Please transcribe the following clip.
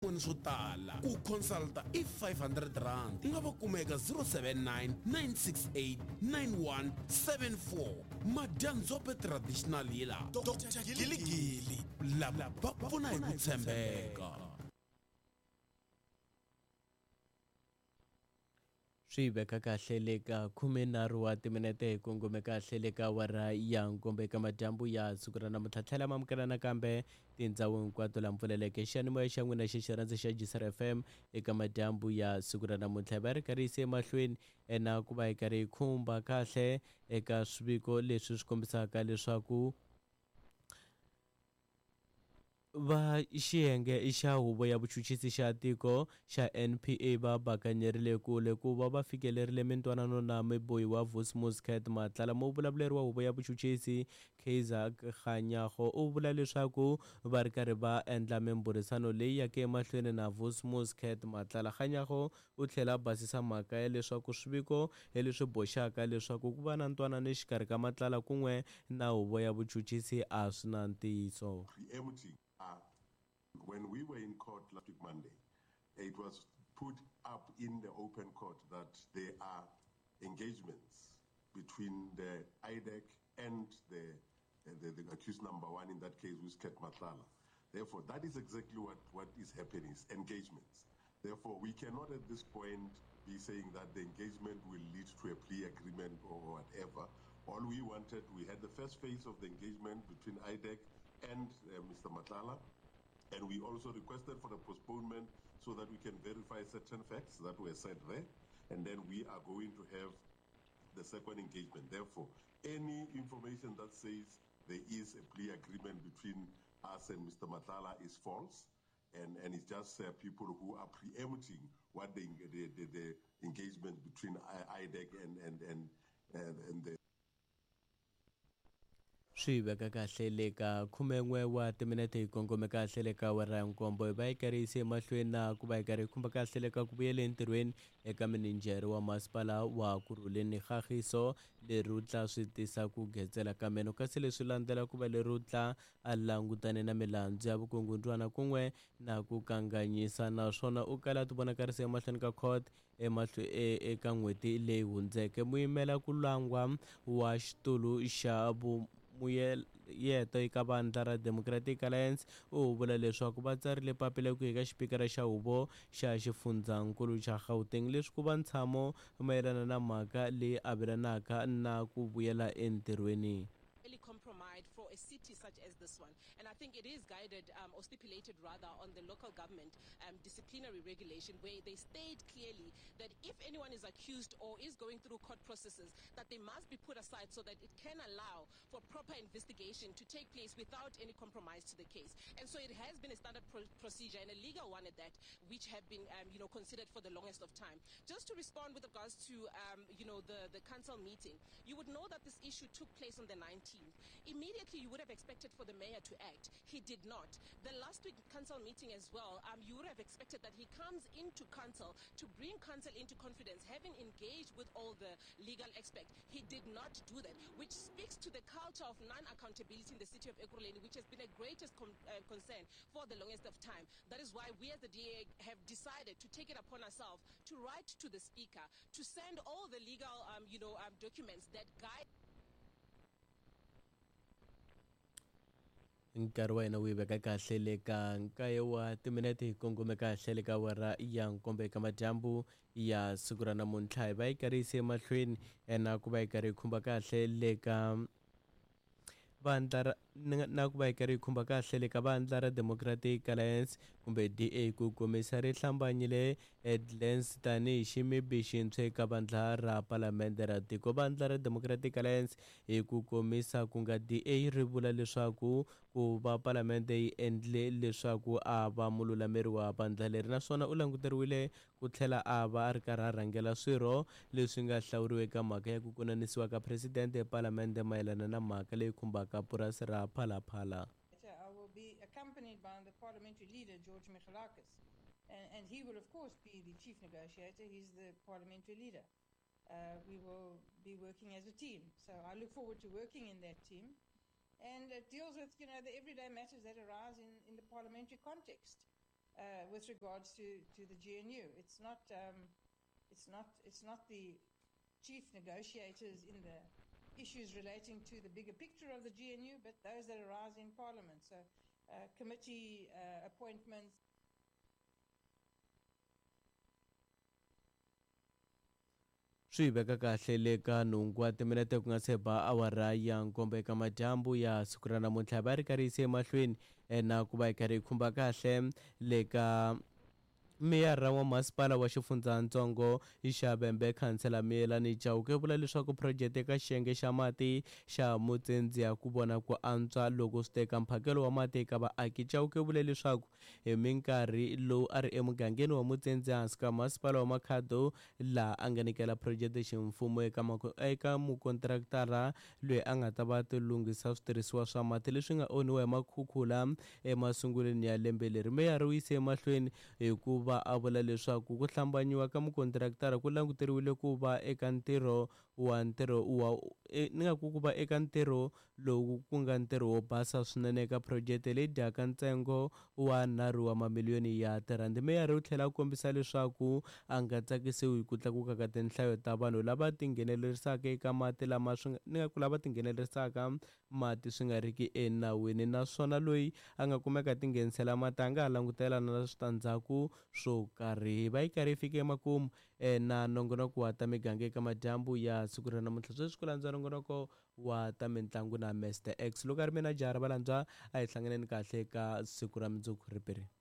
Swin'wana swo tala ku consulta i R500 u nga va kuma eka 079 968 9174. Madyandzhope Traditional Healer Doctor Giligili lava va pfuna hi ku tshembeka. Swi veka kahle le ka khumenharhu wa timinete hi kongome kahle le ka awara ya nkombo eka madyambu ya siku ra namuntlha. Tlhela ma amukela nakambe tindhawu hinkwato laha mpfuleleke xiyanimoya xa n'wina xa xirhandza xa Gisar FM eka madyambu ya siku ra namuntlha. Hi va ri karhi yise emahlweni na ku va hi karhi hi khumba kahle eka swiviko leswi swi kombisaka leswaku Va xiyenge xa Huvo ya Vuchuchisi xa Tiko xa NPA va bakanyerile kule ku va va fikelerile mintwanano na mubohiwa Vusimuzi Cat Matlala. Muvulavuleri wa Huvo ya Vuchuchisi Kaizer Kganyago u vula leswaku va ri karhi va endla mimbhurisano leyi yaka emahlweni na Vusimuzi Cat Matlala. Kganyago u tlhela a basisa mhaka ya leswaku swiviko leswi boxaka leswaku ku va na ntwanano exikarhi ka Matlala kun'we na huvo ya vuchuchisi a swi na ntiyiso. Preempting When we were in court last week Monday, it was put up in the open court that there are engagements between the IDAC and the, the, the accused number one in that case, who is Cat Matlala. Therefore, that is exactly what, what is happening, is engagements. Therefore, we cannot at this point be saying that the engagement will lead to a plea agreement or whatever. All we wanted, we had the first phase of the engagement between IDAC and Mr. Matlala, and we also requested for a postponement so that we can verify certain facts that were said there, and then we are going to have the second engagement. Therefore, any information that says there is a plea agreement between us and Mr. Matlala is false, and, and it's just people who are preempting what the, the, the, the engagement between IDEC and, and, and, and, and the Swi veka kahle le ka khumen'we wa timinete hi kongome kahle le ka awara ya nkombo hi va yi karhi yise emahlweni na ku va yi karhi yi khumba kahle le ka ku vuyela entirhweni eka mininjhere wa masipala wa Kurhuleni Kgagiso Lerutla swi tisa ku getsela ka meno kasi leswi landzela ku va Lerutla a langutane na milandzu ya vukungundzwana kun'we na ku kanganyisa naswona u kala a tivonakarisa emahlweni ka court emahlwe e, eka n'hweti leyi hundzeke. Muyimela ku langwa wa xitulu xa vuyeto eka vandla ra Democratic Alliance u vula leswaku va tsarile papila ku eka xipikara xa huvo xa xifundzhankulu xa Gauteng leswi ku va ntshamo mayelana na mhaka leyi avelanaka na ku vuyela entirhweni. Really compromised for a city such as this one. And I think it is guided or stipulated rather on the local government disciplinary regulation where they state clearly that if anyone is accused or is going through court processes, that they must be put aside so that it can allow for proper investigation to take place without any compromise to the case. And so it has been a standard procedure and a legal one at that, which have been, you know, considered for the longest of time. Just to respond with regards to, you know, the, the council meeting, you would know that this issue took place on the 19th. Immediately, you would have expected for the mayor to act. He did not. The last week council meeting as well, you would have expected that he comes into council to bring council into confidence, having engaged with all the legal experts. He did not do that, which speaks to the culture of non-accountability in the city of Ekurhuleni, which has been a greatest concern for the longest of time. That is why we as the DA have decided to take it upon ourselves to write to the speaker, to send all the legal, you know, documents that guide Nkarhi wa hina wu yi veka kahle le ka nkaye wa timinete hi kongome kahle le ka awara ya nkombo eka madyambu ya siku ra namuntlha. Hi va yi karhi yise emahlweni na ku va yi karhi yi khumba kahle le ka vandla ra na ku va yi karhi yi khumba kahle le ka vandla ra Democratic Alliance kumbe DA ku komisa ri hlambanyile Edlens tanihi ximibi xintshwa eka vandla ra palamende ra tiko. Vandla ra Democratic Alliance hi ku komisa ku nga DA ri vula leswaku ku va palamende yi endle leswaku a va mululameri wa vandla leri naswona u languteriwile ku tlhela a va a ri karhi a rhangela swirho leswi nga hlawuriwa eka mhaka ya ku konanisiwa ka presidente epalamende mayelana na mhaka leyi khumbaka purasi ra Phala Phala. I will be accompanied by the parliamentary leader, George Michalakis. And, and he will, of course, be the chief negotiator. He's the parliamentary leader. We will be working as a team. So I look forward to working in that team. And it deals with, you know, the everyday matters that arise in, in the parliamentary context. with regards to the GNU. It's not the chief negotiators in the issues relating to the bigger picture of the GNU, but those that arise in Parliament. So committee appointments. Swi veka kahle le ka nhungu wa timinete ku nga se ba awara ya nkombo eka madyambu ya siku ra namuntlha va ri karhi yise emahlweni na ku va yi karhi yi khumba kahle le ka meyara wa masipala wa xifundzatsongo xa Vhembe khansela Miyelani Chauke vula leswaku phurojeke eka xiyenge xa mati xa Mutsendziya ku vona ku antswa loko swi teka mphakelo wa mati eka vaaki. Chauke vule leswaku hi minkarhi lowu a ri emugangeni wa Mutsendziya hansi ka masipala wa Makhado laha a nga nyikela phurojeke ximfumo eka mukontraktara loyi a nga ta va tilunghisa switirhisiwa swa mati leswi nga onhiwa hi makhukhula emasungulweni ya lembe leri. Meyara u yise emahlweni hikuva a vula leswaku ku hlambanyiwa ka mukontraktara ku languteriwile ku va eka ntirho wa ntirho wa ni nga ku va eka ntirho lowu ku nga ntirho wo basa swinene eka phurojeke leyi dyaka ntsengo wa 3 wa mamiliyoni ya tirhandi. Meyara u tlhela a kombisa leswaku a nga tsakisiwi hi ku tlakuka ka tinhlayo ta vanhu lava tinghenelerisaka eka mati lama swi ni nga ku lava tinghenelerisaka mati swi nga riki enawini, naswona loyi a nga kumeka tinghenisela mati a nga ha langutela na switandzhaku swo karhi. Va yi karhi yi fike emakumu na nongonoko wa ta miganga eka madyambu ya siku ra namuntlha. Sweswi ku landza nongonoko wa ta mitlangu na Mr X. Loko a ri mina jara va landzwa a hi hlanganeni kahle ka siku ra mundzuku ripiri.